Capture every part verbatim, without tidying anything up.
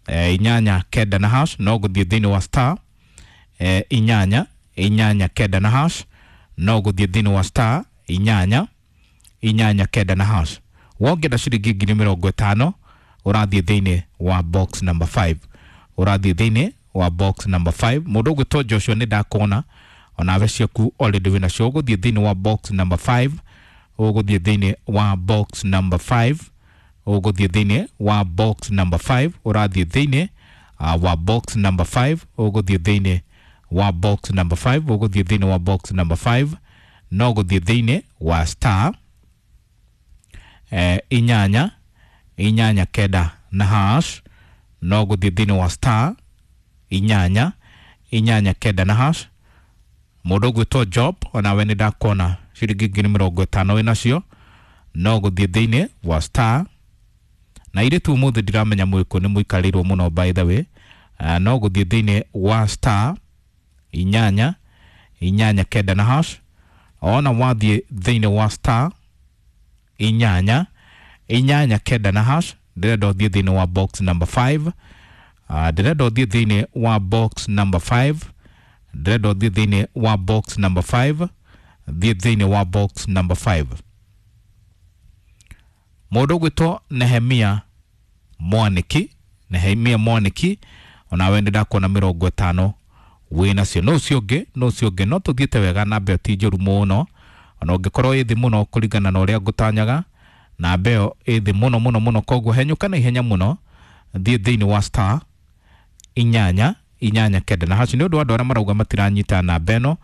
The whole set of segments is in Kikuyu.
eh, inyanya kenda na hash. No gũthiĩ thĩinĩ wa star eh, inyanya inyanya kenda na hash. No gũthiĩ thĩinĩ wa star inyanya inyanya kenda na hash. Wongenda ciringi ngiri mĩrongo ĩtano, ũrathiĩ thĩinĩ wa box number five, ũrathiĩ thĩinĩ wa box number five. Mũndũ ũgwĩtwo Joshua, nĩ ndakuona onawe ciaku already wĩnacio. Ũgũthiĩ thĩinĩ wa box number five, ũgũthiĩ thĩinĩ wa box number five, ũgũthiĩ thĩinĩ wa box number five, ũrathiĩ thĩinĩ uh, wa box number five, ũgũthiĩ thĩinĩ wa box number five, ũgũthiĩ thĩinĩ wa box number five. No gũthiĩ thĩinĩ wa star eh, inyanya inyanya kenda na hash. No gũthiĩ thĩinĩ wa star inyanya inyanya kenda na hash. Mũndũ ũgwĩtwo Job, onawe nĩ ndakuona ciringi ngiri mĩrongo ĩtano wĩnacio. No gũthiĩ thĩinĩ wa star, na irĩtu ũmũthĩ ndiramenya mwĩkũ nĩ mũikarĩirwo mũno, by the way. uh, no gũthiĩ thĩinĩ wa star inyanya inyanya kenda na hash. Ona wathiĩ thĩinĩ wa star inyanya inyanya kenda na hash, ndĩrenda ũthiĩ thĩinĩ wa box number five. uh, ndĩrenda ũthiĩ thĩinĩ wa box number five, ndĩrenda ũthiĩ thĩinĩ wa box number five, thiĩ thĩinĩ wa box number five. Mũndũ ũgwĩtwo Nehemia Mwaniki, Nehemia Mwaniki, onawe nĩ ndakuona mĩrongo ĩtano wĩnacio. No ũcio ũngĩ, no ũcio ũngĩ, no tũthiĩte wega. Namba ĩyo ti njũru mũno, ona ũngĩkorwo ĩ thĩ mũno kũringana na ũrĩa ngũtanyaga, namba ĩyo ĩ thĩ mũno mũno mũno. Koguo henyũka na ihenya mũno, thiĩ thĩinĩ wa star inyanya inyanya kenda na hash. Nĩ ũndũ wa andũ arĩa marauga matiranyita namba ĩno,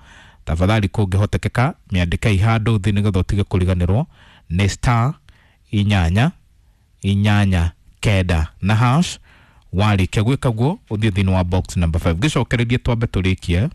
tafadhali kũngĩhotekeka mĩandĩkei handũ thĩ nĩgetha ũtige kũriganĩrwo. Nĩ star inyanya inyanya kenda na hash. Warĩkia gwĩka guo, ũthiĩ thĩinĩ wa box number five. Ngĩcokererie twambe tũrĩkie.